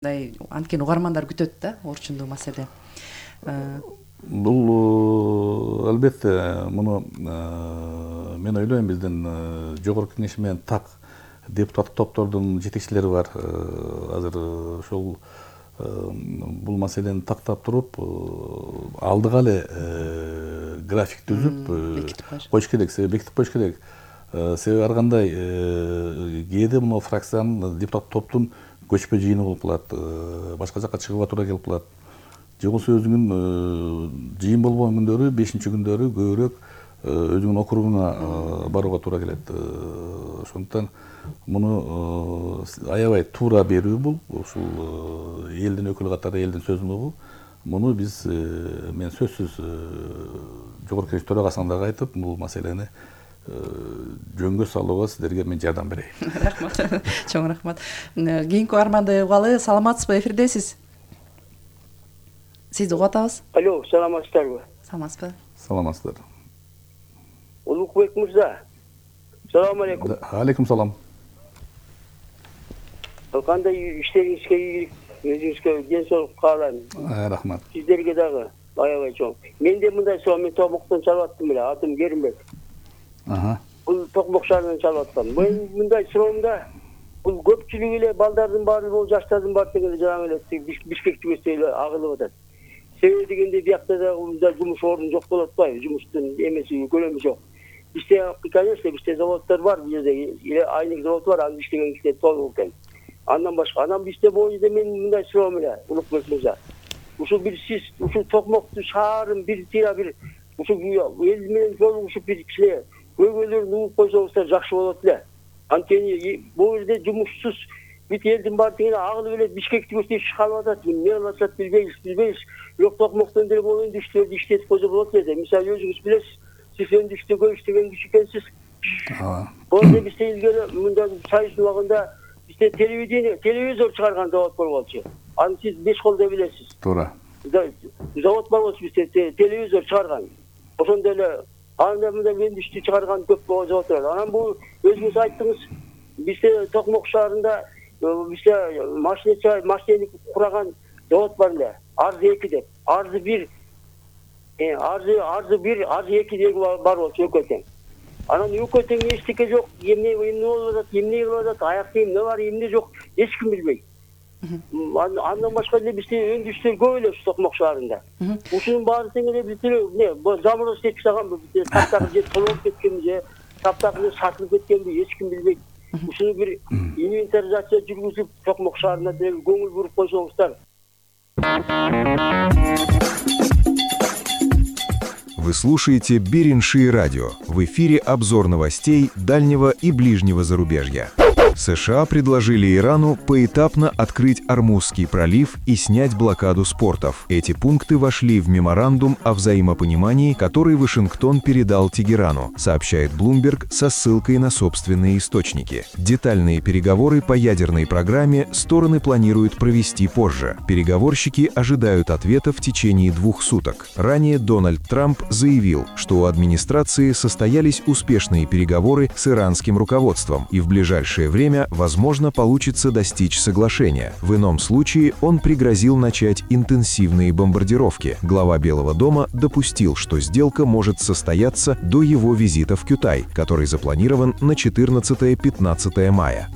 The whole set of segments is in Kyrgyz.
Анткени угармандар күтөт да орчундуу маселе. Бул албетте муну мен ойлойм биздин жогорку кеңеш менен так депутаттык топтордун жетекчилери бар. Азыр ошол бул маселени тактап туруп алдыга эле график түзүп коюш керек, бекитип коюш керек. Себеби ар кандай кээде мына фракциянын депутаттык топтун көчпө жыйыны болуп калат, башка жакка чыгууга туура келип калат. Же болбосо өзүнүн жыйын болбогон күндөрү, 5-күндөрү көбүрөөк өзүнүн округуна барууга туура келет. Ошондуктан муну аябай туура берүү бул, ушул элдин өкүлү катары элдин сөзүн угуу. Муну биз мен сөзсүз жогорку кеңеш төрагасына дагы айтып, бул маселени жөнгө салууга сиздерге мен жардам берейин. Рахмат. Чоң рахмат. Кийинки угарманды угалы. Саламатсызбы, эфирдесиз? Сизди угуп атабыз. Алло, саламатсыздарбы? Саламатсызбы? Саламатсыздар. Улукбек мырза. Салам алейкум. Алейкум салам. Кандай иштериңизге ийгилик, өзүңүзгө ден соолук каалайм. Рахмат. Сиздерге дагы аябай чоң. Менде мындай соо, мен Токмоктон чалып аттым эле, атым Керимбек. Бул Токмок шаарынан чалып аттым. Мен мындай суроомда бул көпчүлүк эле балдардын баары, бул жаштардын баары дегенде жаңы эле Бишкек түбөсү эле агылып атат. Себеби дегенде биякта да жумуш орун жок болуп атпайбы? Жумуштун эмеси, көлөмү жок. Бизде, конечно, бизде заводдор бар, бизде айнек завод бар, анын иштеген кишилер толук экен. Андан башка, анан бизде боюнда мен мындай суроом эле, Улукбек мырза. Ушул бир сиз, ушул Токмоктун шаарын бир тыйра бир ушул эл менен жолугушуп бир кичине көйгөйлөрүн угуп койсоңуздар жакшы болот эле. Анткени бул жерде жумушсуз бүт элдин баары дегене агылып эле Бишкек түбөсүнө иш калып атат. Эмне кылып атат билбейбиз. Бирок Токмоктон деле бул өндүштөрдү иштетип койсо болот эле. Мисалы өзүңүз билесиз, сиз өндүштөгө иштеген киши экенсиз. Бул жерде бизде илгери мындай сайыстын убагында бизде телевизор чыгарган завод болчу. Аны сиз беш колдой билесиз. Туура. Завод бар болчу бизде телевизор чыгарган. Ошондой эле анда мындай өндүштү чыгарган көп завод бар. Анан бул өзүңүз айттыңыз, бизде Токмок шаарында бизде машинист кураган завод бар эле. Арзы 2 деп. Арзы 1, арзы 2 деп бар болчу өкөтең. Анан өкөтең эчтеке жок, эмне болуп атат, эмне кылып атат, аякта эмне бар, эмне жок, эч ким билбейт. Андан башка эле бизде өндүштөр көп эле Токмок шаарында. Ушунун баары тең эле бизде замроз иштеп чыгаганбы, бизде таптагы же толуп кеткенби, же таптагы сатылып кеткенби, эч ким билбейт. Ушуну бир инвентаризация жүргүзүп, Токмок шаарына деле көңүл буруп койсоңуздар. Вы слушаете Беринши радио. В эфире обзор новостей дальнего и ближнего зарубежья. США предложили Ирану поэтапно открыть Ормузский пролив и снять блокаду с портов. Эти пункты вошли в меморандум о взаимопонимании, который Вашингтон передал Тегерану, сообщает Bloomberg со ссылкой на собственные источники. Детальные переговоры по ядерной программе стороны планируют провести позже. Переговорщики ожидают ответа в течение 2 суток. Ранее Дональд Трамп заявил, что у администрации состоялись успешные переговоры с иранским руководством, и в ближайшее время, возможно, получится достичь соглашения. В ином случае он пригрозил начать интенсивные бомбардировки. Глава Белого дома допустил, что сделка может состояться до его визита в Кютай, который запланирован на 14-15 мая.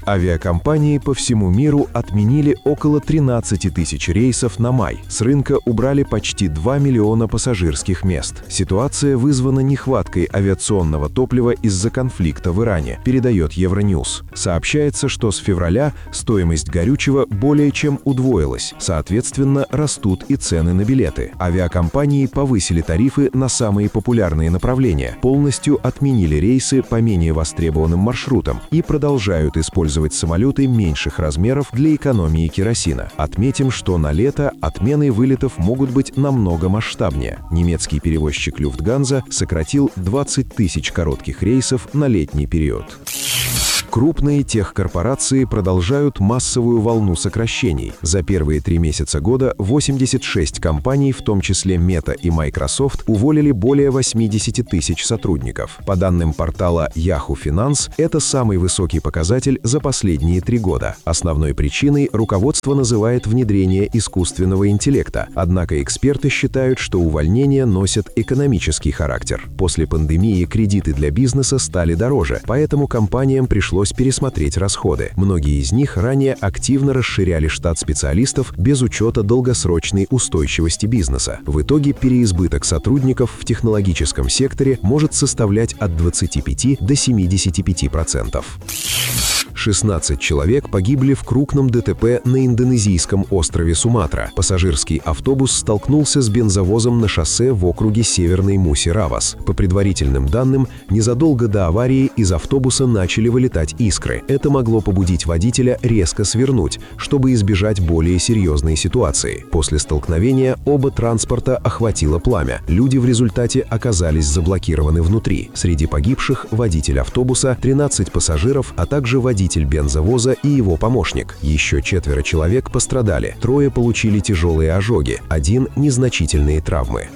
Авиакомпании по всему миру отменили около 13 тысяч рейсов на май. С рынка убрали почти 2 миллиона пассажирских мест. Ситуация вызвана нехваткой авиационного топлива из-за конфликта в Иране, передает Евроньюз. Сообщается, что с февраля стоимость горючего более чем удвоилась. Соответственно, растут и цены на билеты. Авиакомпании повысили тарифы на самые популярные направления, полностью отменили рейсы по менее востребованным маршрутам и продолжают использовать самолеты меньших размеров для экономии керосина. Отметим, что на лето отмены вылетов могут быть намного масштабнее. Немецкий перевозчик Люфтганза сократил 20 тысяч коротких рейсов на летний период. Крупные техкорпорации продолжают массовую волну сокращений. За первые 3 месяца года 86 компаний, в том числе Meta и Microsoft, уволили более 80 тысяч сотрудников. По данным портала Yahoo Finance, это самый высокий показатель за последние 3 года. Основной причиной руководство называет внедрение искусственного интеллекта. Однако эксперты считают, что увольнения носят экономический характер. После пандемии кредиты для бизнеса стали дороже, поэтому компаниям пришлось пересмотреть расходы. Многие из них ранее активно расширяли штат специалистов без учета долгосрочной устойчивости бизнеса. В итоге переизбыток сотрудников в технологическом секторе может составлять от 25 до 75%. 16 человек погибли в крупном ДТП на индонезийском острове Суматра. Пассажирский автобус столкнулся с бензовозом на шоссе в округе Северный Муси-Равас. По предварительным данным, незадолго до аварии из автобуса начали вылетать искры. Это могло побудить водителя резко свернуть, чтобы избежать более серьезной ситуации. После столкновения оба транспорта охватило пламя. Люди в результате оказались заблокированы внутри. Среди погибших водитель автобуса, 13 пассажиров, а также водитель бензовоза и его помощник. Еще 4 человек пострадали. 3 получили тяжелые ожоги, 1 – незначительные травмы.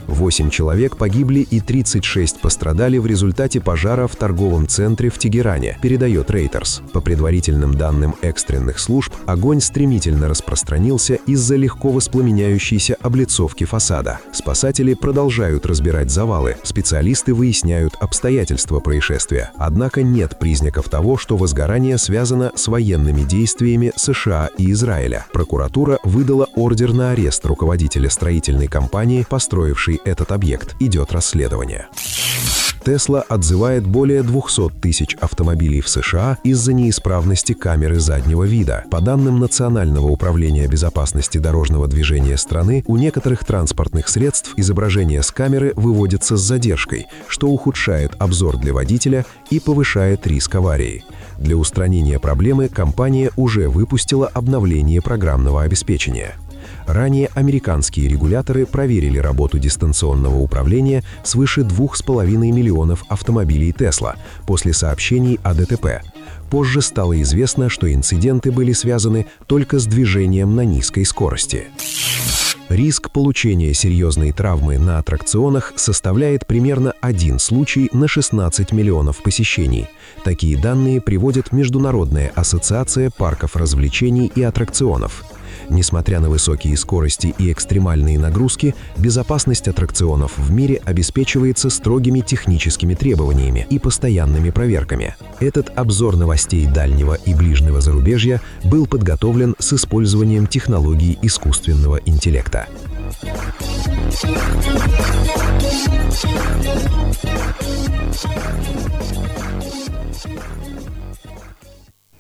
8 человек погибли и 36 пострадали в результате пожара в торговом центре в Тегеране, передает Reuters. По предварительным данным экстренных служб, огонь стремительно распространился из-за легко воспламеняющейся облицовки фасада. Спасатели продолжают разбирать завалы, специалисты выясняют обстоятельства происшествия. Однако нет признаков того, что возгорание связано с военными действиями США и Израиля. Прокуратура выдала ордер на арест руководителя строительной компании, построившей этот объект. Идет расследование. Tesla отзывает более 200 тысяч автомобилей в США из-за неисправности камеры заднего вида. По данным Национального управления безопасности дорожного движения страны, у некоторых транспортных средств изображение с камеры выводится с задержкой, что ухудшает обзор для водителя и повышает риск аварии. Для устранения проблемы компания уже выпустила обновление программного обеспечения. Ранее американские регуляторы проверили работу дистанционного управления свыше 2,5 миллионов автомобилей Tesla после сообщений о ДТП. Позже стало известно, что инциденты были связаны только с движением на низкой скорости. Риск получения серьезной травмы на аттракционах составляет примерно 1 случай на 16 миллионов посещений. Такие данные приводит Международная ассоциация парков развлечений и аттракционов. Несмотря на высокие скорости и экстремальные нагрузки, безопасность аттракционов в мире обеспечивается строгими техническими требованиями и постоянными проверками. Этот обзор новостей дальнего и ближнего зарубежья был подготовлен с использованием технологий искусственного интеллекта.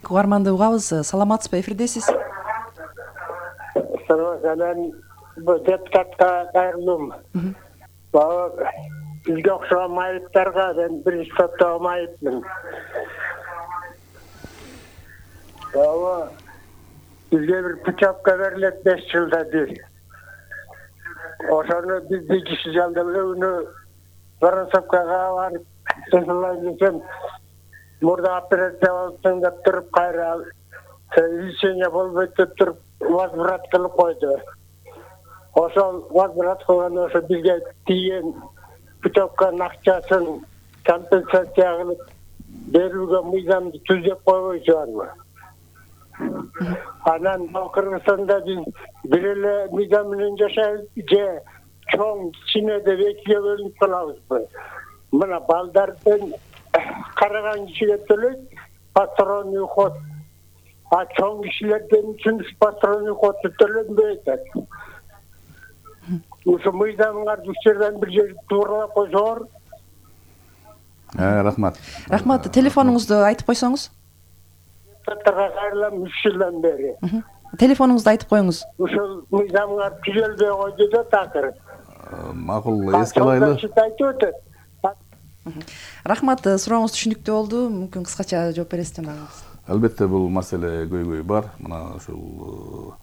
Угарманды угабыз, саламатсызбы, эфирдесиз. Мен депутатка кайрылдым. Бизге окшогон майыптарга мен биринчи топтогу майыпмын. Бизге бир путевка берилет 5 жылда бир. Ошону биз киши жалдап өөнү Воронцовкага барып жасалайын десем, мурда операция болуп деп туруп кайра лечение болбойт деп туруп возврат кылып койду. Ошол возврат кылган ошо бизге тийген путевканын акчасын компенсация кылып берүүгө мыйзамды түзөп койбойчубарбы? Анан Кыргызстанда биз бир эле мыйзам менен жашайбыз же чоң кичине деп экиге бөлүнүп калабызбы? Мына балдардын караган кишиге төлөйт патронный уход. А чоң кишилерден үчүн патронный уходу төлөнбөйт. Ушу мыйзамыңарды ушерден бир жерди тууралап койсоңор. Рахмат. Рахмат, телефонуңузду айтып койсоңуз. Татарга кайрылам 3 жылдан бери. Телефонуңузду айтып коюңуз. Ушул мыйзамыңар түзөлбөй койду да такыр. Макул, эске алайлы. Рахмат, сурооңуз түшүнүктүү болду. Мүмкүн кыскача жооп бересиз жанагыңыз. Албетте бул маселе көйгөй бар. Мына ушул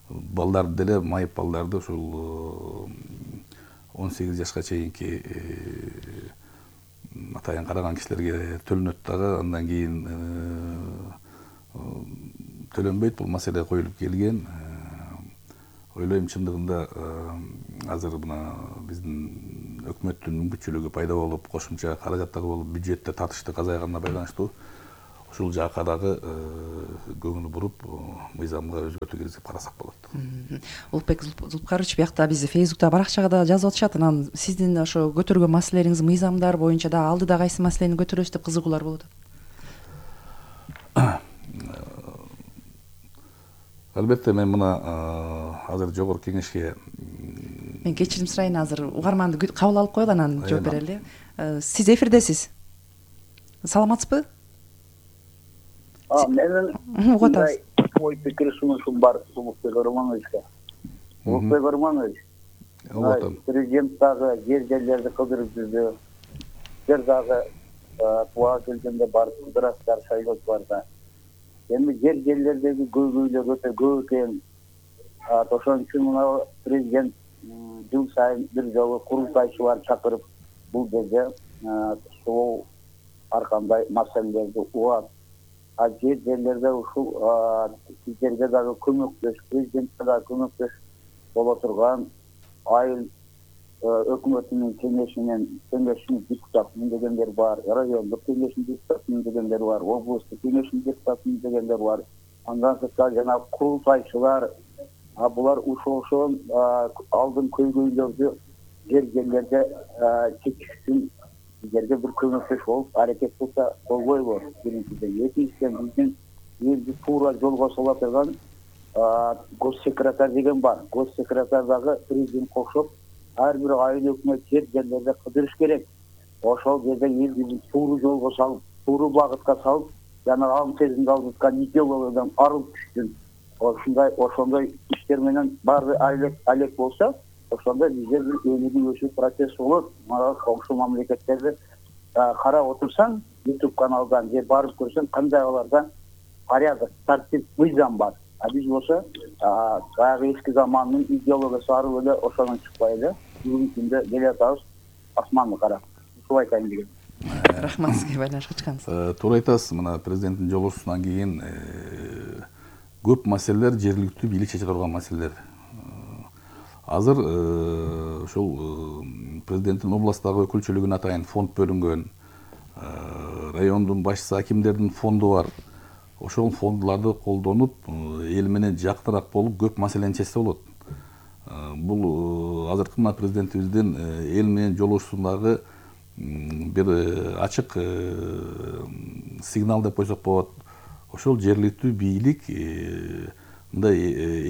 балдарды деле, майып балдарды ушул 18 жашка чейинки атайын караган кишилерге төлөнөт дагы, андан кийин төлөнбөйт. Бул маселе коюлуп келген. Ойлойм чындыгында азыр мына биздин өкмөттүн мүмкүнчүлүгү пайда болуп, кошумча каражаттар болуп, бюджетте тартыштык азайганына байланыштуу ушул жака дагы көңүл буруп, мыйзамга өзгөртүү киргизип карасак болот. Улукбек Зулпукарович, биякта биз Фейсбукта, баракчага да жазып атышат. Анан сиздин ошо көтөргөн маселелериңиз мыйзамдар боюнча да алдыда кайсы маселени көтөрөбүз деп кызыгуулар болуп атат. Албетте мен мына азыр жогорку кеңешке Мен кечирим сурайын, азыр угарманды кабыл алып коелу, анан жооп берели. Сиз эфирдесиз. Саламатсызбы? Менин ой пикир сунушум бар Улукбек Романовичке. Улукбек Романович, президент дагы жер-жерлерди кыдырып жүрдү. Сиздер дагы буга келгенде барып кыдырасыздар, шайлоочуларга. Эми жер-жерлердеги көйгөйлөр өтө көп экен. Ошон үчүн мына президент жыл сайын бир жолу курултайчылар чакырып, бул жерде сол ар кандай маселелерди угат. Жерлерде ушул сиздерге дагы көмөктөш, президентке дагы көмөктөш боло турган айыл өкмөтүнүн кеңешинин депутатымын дегендер бар, райондук кеңештин депутатымын дегендер бар, облустук кеңештин депутатымын дегендер бар. Андан сырткары жанагы курултайчылар, булар ошол алдын көйгөйлөрдү жерлерде чечишsin, сиздерге бир көмөктөш болуп аракет кылса болбойбу? Биринчиден, экинчиден биздин элди туура жолго сала турган госсекретарь деген бар. Госсекретарь дагы президент кошуп, ар бир айыл өкмөт жерлерде кыдырыш керек. Ошол жерде элди туура жолго салып, туура багытка салып, жана ам сезимди алгыткан идеологиядан арылып түшкөн. Ошондой иштер менен баары алек болсо, ошондо бизде бир өнүгүү өсүү процесси болот. Мына коңшу мамлекеттерди карап отурсаң, YouTube каналдан же барып көрсөң, кандай аларда порядок, тартип, мыйзам бар. Биз болсо баягы эски замандын идеологиясы арып эле ошондон чыкпай эле бүгүнкү күндө келе атабыз асманды карап. Ушул айтайын дегем. Рахмат сизге байланышып чыкканыңызга. Туура айтасыз. Мына президенттин жолугушуусунан кийин көп маселелер жергиликтүү бийлик чече турган маселелер. Азыр ушул президенттин областтагы өкүлчүлүгүнө атайын фонд бөлүнгөн, райондун башчысы, акимдердин фонду бар. Ошол фондуларды колдонуп, эл менен жакыныраак болуп, көп маселени чечсе болот. Бул азыркы мына президентибиздин эл менен жолугушуусундагы бир ачык сигнал деп койсок болот. Ошол жергиликтүү бийлик мындай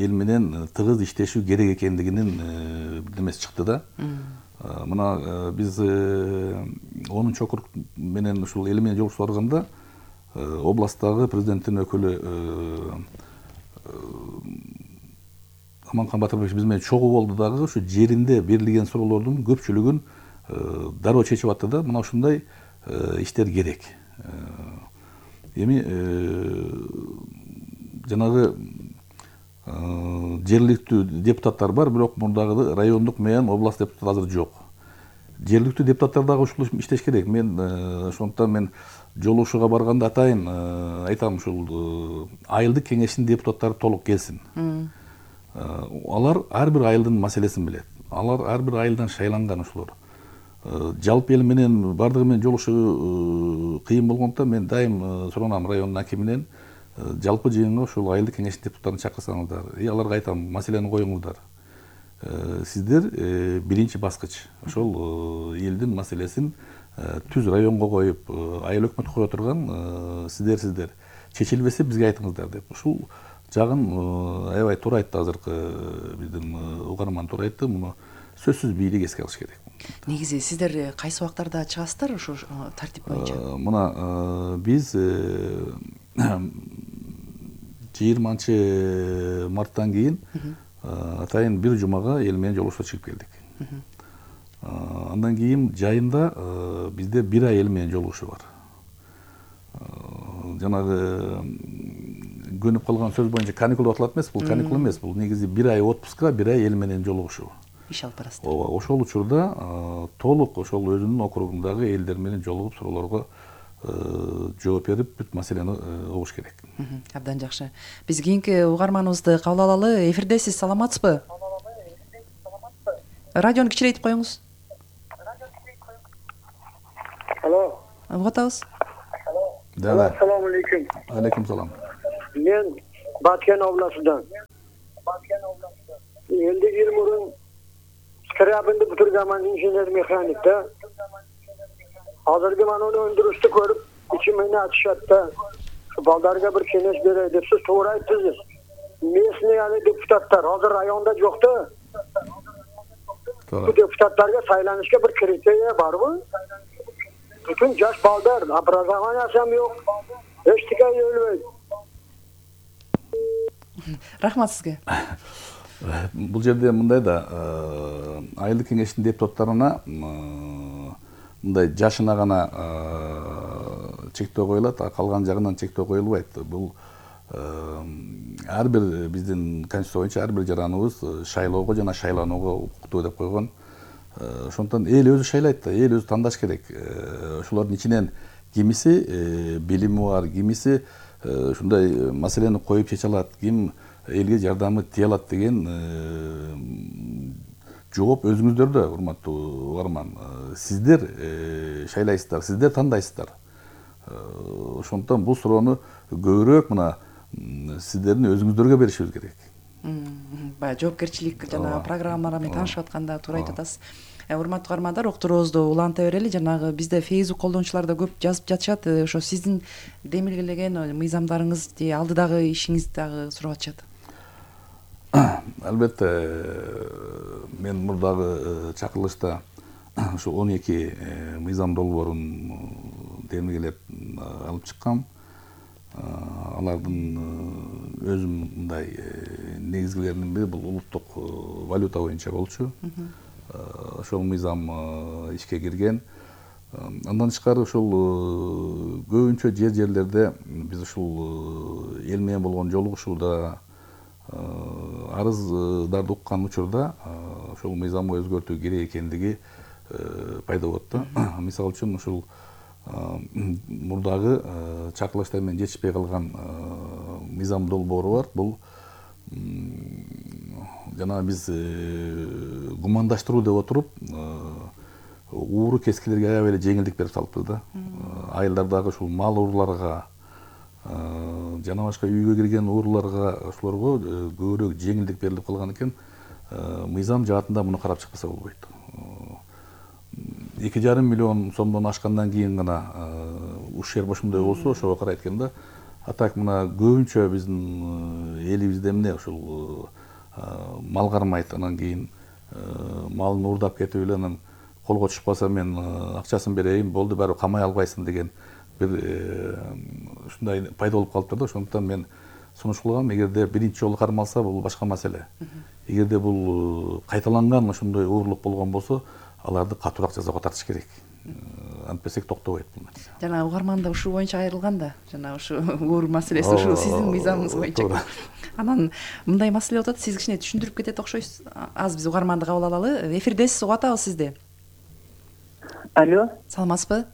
эл менен тыгыз иштешүү керек экендигинин бирдемеси чыкты да. Мына биз 10 округ менен ушул эл менен жолугушуп барганда областтагы президенттин өкүлү Аманкан Батырбек биз менен чогуу болду дагы, ушу жеринде берилген суроолордун көпчүлүгүн дароо чечип атты да. Мына ушундай иштер керек. Эми жанагы жергиликтүү депутаттар бар, бирок мурдагы райондук менен област депутаты азыр жок. Жергиликтүү депутаттар дагы ушул иштеш керек. Мен ошондуктан мен жолугушууга барганда атайын айтам, ушул айылдык кеңештин депутаттары толук келсин. Алар ар бир айылдын маселесин билет. Алар ар бир айылдан шайланган ушулар. Жалпы эл менен бардыгы менен жолугушуу кыйын болгондуктан мен дайым суранам райондун акиминен жалпы жыйынга ушул айылдык кеңештин депутаттарын чакырсаңыздар, аларга айтам, маселени коюңуздар. Сиздер биринчи баскыч. Ошол элдин маселесин түз районго коюп, айыл өкмөткө кое турган сиздер чечилбесе бизге айтыңыздар деп. Ушул жагын аябай туура айтты азыркы биздин угарман, туура айтты. Муну сөзсүз бийлик эске алыш керек. Негизи сиздер кайсы убактарда чыгасыздар ошо тартип боюнча? Мына биз 20 марттан кийин атайын бир жумага эл менен жолугушууга чыгып келдик. Андан кийин жайында бизде бир ай эл менен жолугушуу бар. Жанагы көнүп калган сөз боюнча каникул деп аталат эмес, бул каникул эмес, бул негизи бир ай отпуска, бир ай эл менен жолугушуу. иш алып барасыздар. ооба, ошол учурда толук ошол өзүнүн округундагы элдер менен жолугуп суроолорго жооп берип бүт маселени угуш керек. Абдан жакшы. Биз кийинки угарманыбызды кабыл алалы. Эфирдесиз, саламатсызбы? Радиону кичирейтип коюңуз. Алло. Угуп атабыз. Assalomu alaykum. Алейкум салам. Men Batken областынан. Endi 20 murun Skrabinni bitirganman, injener mexanik da. Hozirgi mana uni öndürüşni ko'rib, ichimni achishadi. Shu baldarga bir kengash beray deb siz to'g'ri aytdingiz. Mesni yani deputatlar hozir rayonda yo'qda. Bu deputatlarga saylanishga bir kriteriya bormi? Bütün yosh baldar, образованиясы ham yo'q. Hech qanday yo'lmaydi. Рахмат сизге. Бул жерде мындай да айылдык кеңештин депутаттарына мындай жашына гана чектөө коюлат, калган жагынан чектөө коюлбайт. Бул ар бир биздин конституция боюнча ар бир жараныбыз шайлоого жана шайланууга укуктуу деп койгон. Ошондон эл өзү шайлайт да, эл өзү тандаш керек. Ошолордун ичинен кимиси билими бар, кимиси ушундай маселени коюп чече алат, ким элге жардамы тие алат деген жооп өзүңүздөрдө, урматтуу угарман. Сиздер шайлайсыздар, сиздер тандайсыздар. Ошондон бул суроону көбүрөөк мына сиздердин өзүңүздөргө беришибиз керек. Баягы жоопкерчилик жана программалар менен таанышып атканда туура айтып атасыз. Урматтуу угармандар, уктуруубузду уланта берели. Жанагы бизде Facebook колдонуучулар да көп жазып жатышат. Ошо сиздин демилгелеген мыйзамдарыңыз, алдыдагы ишиңизди дагы сурап атышат. Албетте, мен мурдагы чакырылышта ушу 12 мыйзам долбоорун демилгелеп алып чыккам. Алардын өзүм мындай негизгилеринин бири бул улуттук валюта боюнча болчу. Ошол мыйзам ишке кирген. Андан тышкары ушул көбүнчө жерлерде биз ушул эл менен болгон жолугушууда арыздарды уккан учурда ошол мыйзамды өзгөртүү керек экендиги пайда болот да. Мисалы үчүн ушул мурдагы чакырылыштар менен жетишпей калган мыйзам долбоору бар. Бул жана биз гумандаштыруу деп отуруп ууру кескилерге аябай эле жеңилдик берип салыппыз да. Айылдардагы ушул мал ууруларга жана башка үйгө кирген ууруларга ошолорго көбүрөөк жеңилдик берилип калган экен. Мыйзам жаатында муну карап чыкпаса болбойт. 2,5 миллион сомдон ашкандан кийин гана ушер ошондой болсо ошого карайт экен да. А так мына көбүнчө биздин элибизде эмне ушул мал кармайт, анан кийин малын уурдап кетип эле анан колго түшүп мен акчасын берейин, болду баары камай албайсың деген бир ушундай пайда болуп калыптыр да. Ошондуктан мен сунуш кылгам, эгерде биринчи жолу кармалса бул башка маселе. Эгерде бул кайталанган ошондой уурлук болгон болсо, аларды катуураак жазага тартыш керек. Антпесек токтобойт бул нерсе. Жана угарман да ушул боюнча айрылган да. Жана ушу уур маселеси ушул сиздин мыйзамыңыз боюнча. Анан мындай маселе болуп атат, сиз кичине түшүндүрүп кетет окшойсуз. Аз биз угарманды кабыл алалы. Эфирдесиз, угуп атабыз сизди. Алло. Саламатсызбы?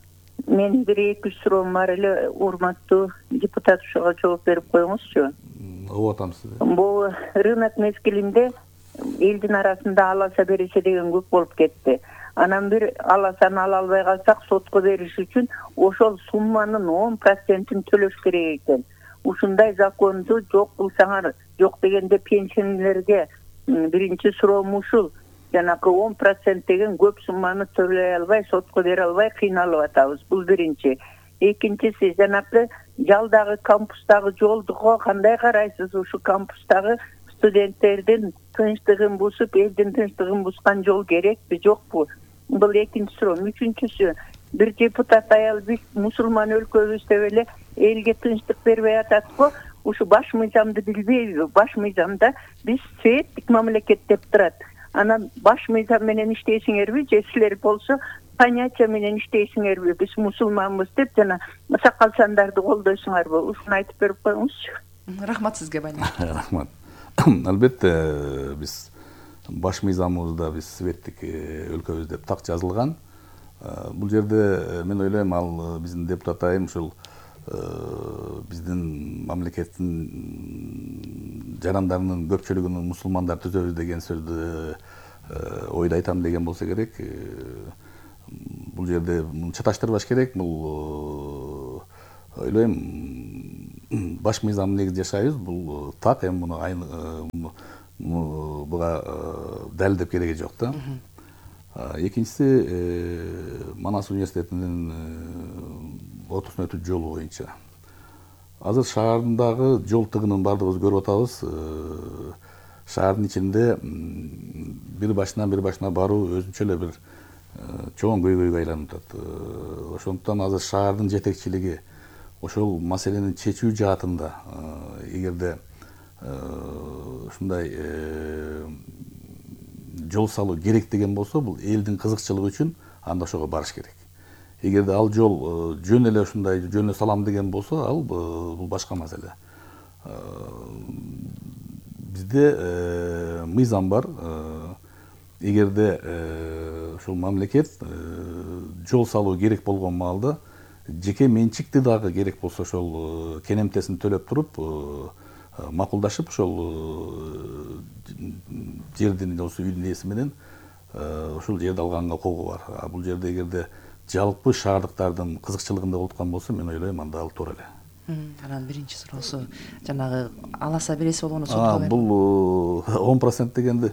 Мен бир эки суроом бар эле, урматтуу депутат, ошого жооп берип коюңузчу. Угуп атам сизди. Бул рынок мезгилинде элдин арасында аласа берише деген көп болуп кетти. Анан бир аласаны ала албай калсак, сотко бериш үчүн ошол сумманын 10%-ин төлөш керек экен. Ушундай законду жок кылсаңар, жок дегенде пенсионерлерге биринчи суроом ушул. Жанагы 10% деген көп сумманы төлөй албай, сотко бере албай кыйналып атабыз. Бул биринчи. Экинчиси, жанагы жалдагы кампустагы жолдуго кандай карайсыз? Ушу кампустагы студенттердин тынчтыгын бузуп, элдин тынчтыгын бузган жол керекпи, жокпу? Бул экинчи суроо. Үчүнчүсү, бир депутат аял биз мусулман өлкөбүз деп эле элге тынчтык бербей ататпы? Ушу баш мыйзамды билбейби? Баш мыйзамда биз светтик мамлекет деп турат. Анан баш мыйзам менен иштейсиңерби, же силер болсо понятие менен иштейсиңерби? Биз мусулманбыз деп жана сакал сандарды колдойсуңарбы? Ушуну айтып берип коюңузчу. Рахмат сизге, Бани. Рахмат. Албетте биз баш мыйзамыбызда биз светтик өлкөбүз деп так жазылган. Бул жерде мен ойлойм ал биздин депутат айым ушул биздин мамлекеттин жарандарынын көпчүлүгүн мусулмандар түзөбүз деген сөздү ойда айтам деген болсо керек. Бул жерде чаташтырбаш керек. Бул ойлойм баш мыйзам негизи жашайбыз. Бул так, эми буга далилдеп кереги жок да. Экинчиси Манас университетинин ортосуна өтүү жолу боюнча. Азыр шаардагы жол тыгынын баардыгыбыз көрүп атабыз. Шаардын ичинде бир башына баруу өзүнчө эле бир чоң көйгөйгө айланып атат. Ошондуктан азыр шаардын жетекчилиги ошол маселени чечүү жаатында эгерде ушундай жол салуу керек деген болсо, бул элдин кызыкчылыгы үчүн анда ошого барыш керек. Эгерде ал жол жөн эле ушундай жөн эле салам деген болсо, ал бул башка маселе. Бизде мыйзам бар. Эгерде ушул мамлекет жол салуу керек болгон маалда жеке менчикти дагы керек болсо ошол кенемтесин төлөп туруп макулдашып ошол жердин осы үйдүн ээси менен ушул жерди алганга укугу бар. Бул жерде эгерде жалпы шаардыктардын кызыкчылыгында болуп аткан болсо, мен ойлойм анда ал туура эле. Анан биринчи суроосу жанагы аласа береси болгону сотко бул 10% дегенди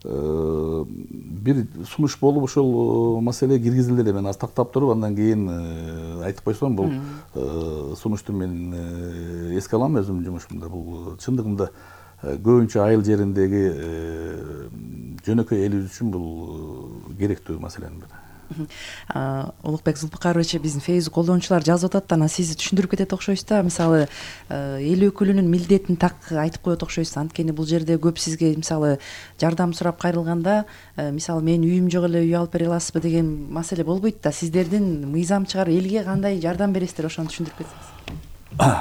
бир сунуш болуп ошол маселе киргизилди эле. Мен аз тактап туруп, андан кийин айтып койсом, бул сунушту мен эске алам өзүмдүн жумушумда. Бул чындыгында көбүнчө айыл жериндеги жөнөкөй элибиз үчүн бул керектүү маселенин бири. Улукбек Зулпукарович, биздин Facebook колдонуучулар жазып атат, анан сиз түшүндүрүп кетет окшойсуз да. Мисалы, эл өкүлүнүн милдетин так айтып коет окшойсуз. Анткени бул жерде көп сизге мисалы жардам сурап кайрылганда, мисалы мен үйүм жок эле, үй алып бере аласызбы деген маселе болбойт да. Сиздердин мыйзам чыгар, элге кандай жардам бересиздер, ошону түшүндүрүп кетсеңиз.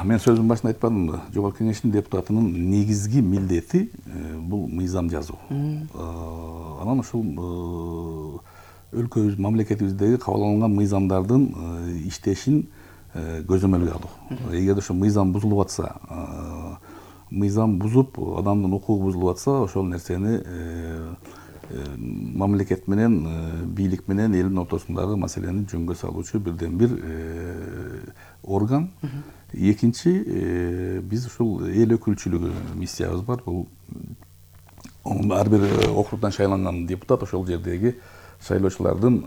Мен сөзүмдүн башында айтпадымбы? Жогорку Кеңештин депутатынын негизги милдети бул мыйзам жазуу. Анан ушул өлкөбүз, мамлекетибиздеги кабыл алынган мыйзамдардын иштешин көзөмөлгө алуу. Эгерде ошо мыйзам бузулуп атса, мыйзам бузуп, адамдын укугу бузулуп атса, ошол нерсени мамлекет менен, бийлик менен элдин ортосундагы маселени жөнгө салуучу бирден бир орган. Экинчи, биз ушул эл өкүлчүлүгү миссиябыз бар. Бул ар бир округдан шайланган депутат ошол жердеги шайлоочулардын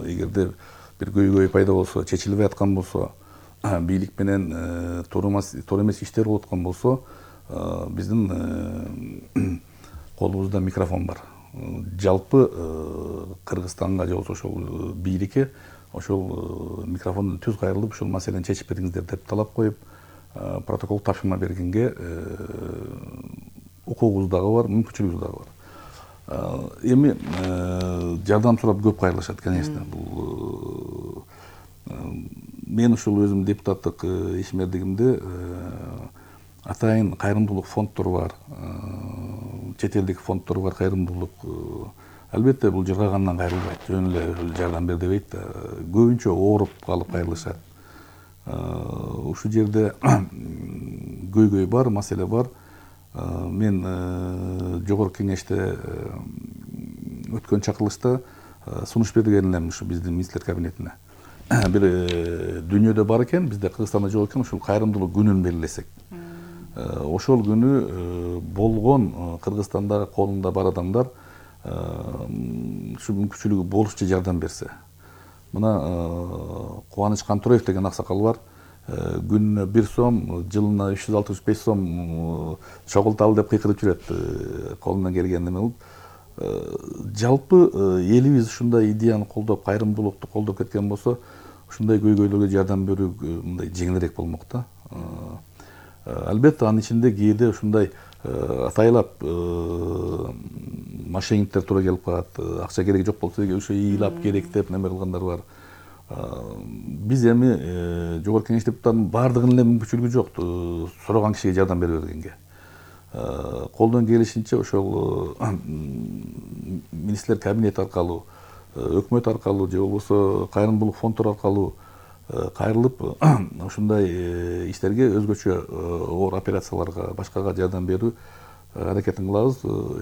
эгерде бир көйгөй пайда болсо, чечилбей аткан болсо, бийлик менен туура эмес иштер болуп аткан болсо, биздин колубузда микрофон бар. Жалпы Кыргызстанга же болбосо ошол бийликке ошол микрофондон түз кайрылып, ушул маселени чечип бериңиздер деп талап коюп, протокол тапшырма бергенге укугубуз дагы бар, мүмкүнчүлүгүбүз дагы бар. Эми жардам сурап көп кайрылышат, конечно. Бул мен ушул өзүм депутаттык ишмердигимде атайын кайрымдуулук фонддору бар, чет элдик фонддор бар, кайрымдуулук. Албетте бул жыргагандан кайрылбайт, жөн эле жардам бер дебейт да. Көбүнчө ооруп калып кайрылышат. Ушул жерде көйгөй бар, маселе бар. Мен жогорку кеңеште өткөн чакырылышта сунуш берген элем ушу биздин министрлер кабинетине. Бир дүйнөдө бар экен, бизде Кыргызстанда жок экен, ушул кайрымдуулук күнүн белгилесек. Ошол күнү болгон Кыргызстандагы колунда бар адамдар ушу мүмкүнчүлүгү болушунча жардам берсе. Мына Кубаныч Кантураев деген аксакал бар. Күнүнө 1 сом, жылына 365 сом чогулталы деп кыйкырып жүрөт, колунан келгенде. Жалпы элибиз ушундай идеяны колдоп, кайрымдуулукту колдоп кеткен болсо, ушундай көйгөйлөргө жардам берүү мындай жеңилирээк болмок да. Албетте анын ичинде кээде ушундай атайлап мошенниктер туура келип калат, акча кереги жок болсо ошо ыйлап керек деп неме кылгандар бар. Биз эми жогорку кеңеш депутатынын баардыгынын эле мүмкүнчүлүгү жок сураган кишиге жардам бере бергенге. колдон келишинче ошол министрлер кабинети аркылуу, өкмөт аркылуу же болбосо кайрымдуулук фонддор аркылуу кайрылып ушундай иштерге өзгөчө оор операцияларга башкага жардам берүү аракетин кылабыз.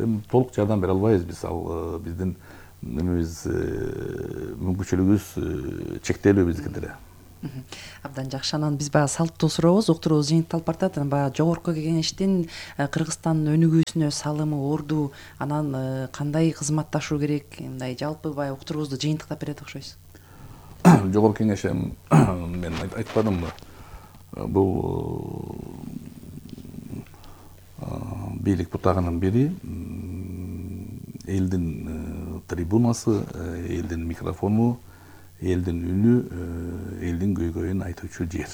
Эми толук жардам бере албайбыз биз, ал биздин немебиз, мүмкүнчүлүгүбүз чектелүү биздики деле. Абдан жакшы. Анан биз баягы салттуу сурообуз, уктуруубуз жыйынталып баратат. Баягы жогорку кеңештин Кыргызстандын өнүгүүсүнө салымы, орду, анан кандай кызматташуу керек, мындай жалпы баягы уктуруубузду жыйынтыктап берет окшойсуз. Жогорку кеңеш мен айтпадымбы, бул бийлик бутагынын бири, элдин трибунасы, элдин микрофону, элдин үнү, элдин көйгөйүн айтуучу жер.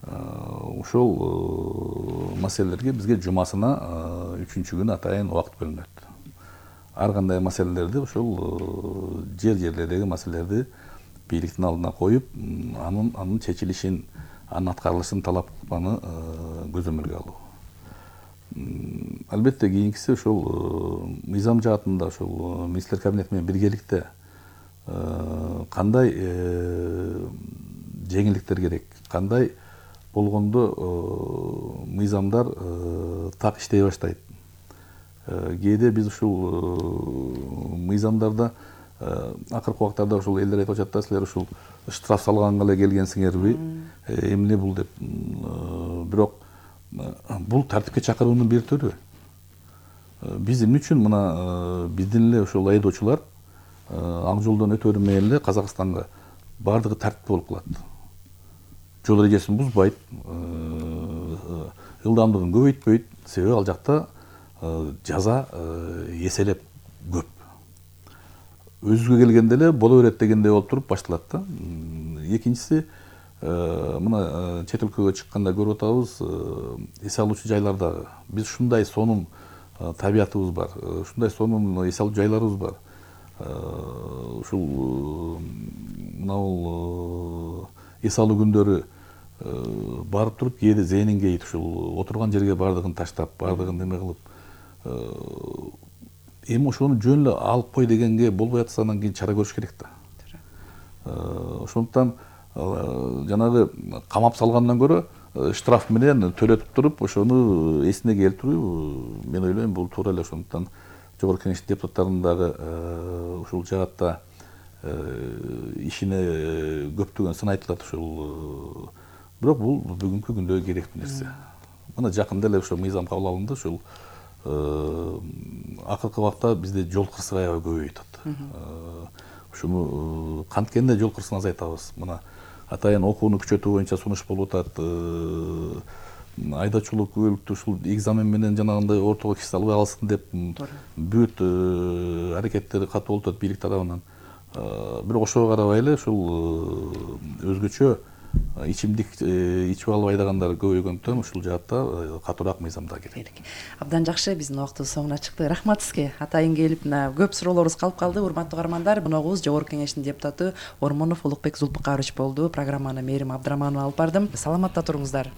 Ошол маселелерге бизге жумасына 3-күнү атайын убакыт бөлүнөт. Ар кандай маселелерди, ошол жерлердеги маселелерди бийликтин алдына коюп, анын чечилишин, анын аткарылышын талап кылганы көзөмөлгө алуу. Албетте кийинкиси ошол мыйзам жаатында ошол министрлер кабинети менен биргеликте кандай жеңилдиктер керек, кандай болгондо мыйзамдар так иштей баштайт. Кээде биз ушул мыйзамдарда акыркы убактарда ушул элдер айтып атат да, силер ушул штраф салганга эле келгенсиңерби, эмне бул деп. Бирок бул тартипке чакыруунун бир түрү. Биз эмне үчүн мына биздин эле ошол айдоочулар ак жолдон өтөрү менен эле Казакстанга бардыгы тартип болуп калат. Жол эрежесин бузбайт, ылдамдыгын көбөйтпөйт, себеби ал жакта жаза эселеп көп. Өзүгө келгенде эле боло берет дегендей болуп туруп башталат да. Экинчиси, мына чет өлкөгө чыкканда көрүп атабыз, эс алуучу жайларда биз ушундай сонун табиятыбыз бар, ушундай сонун эс алуу жайларыбыз бар. Ушул мына эс алуу күндөрү барып туруп кээде зээнин кейит, ушул отурган жерге бардыгын таштап, бардыгын неме кылып, эми ошону жөн эле алып кой дегенге болбой атса, анан кийин чара көрүш керек да. Ошондуктан жанагы камап салгандан көрө штраф менен төлөтүп туруп, ошону эсине келтирүү, мен ойлойм, бул туура эле. Ошондуктан жогорку кеңештин депутаттарынын дагы ушул жаатта ишине көптөгөн сын айтылат ушул. Бирок бул бүгүнкү күндө керектүү нерсе. Мына жакында эле ошо мыйзам кабыл алынды, ушул акыркы убакта бизде жол кырсыгы аябай көбөйүп атат. Ушуну канткенде жол кырсыгын азайтабыз. Мына атайын окууну күчөтүү боюнча сунуш болуп атат. Айдоочулук күбөлүктүү ушул экзамен менен жанагындай ортого киши салбай калсын деп бүт аракеттери катуу болуп атат бийлик тарабынан. Бирок ошого карабай эле ушул өзгөчө ичимдик ичип алып айдагандар көбөйгөндүктөн ушул жаатта катуураак мыйзамдар керек. Абдан жакшы, биздин убактыбыз соңуна чыкты. Рахмат сизге. Атайын келип, көп суроолорубуз калып калды. Урматтуу каармандар, коногубуз Жогорку кеңештин депутаты Ормонов Улукбек Зулпукарович болду. Программаны Мээрим Абдыраманова алып бардым. Саламатта туруңуздар.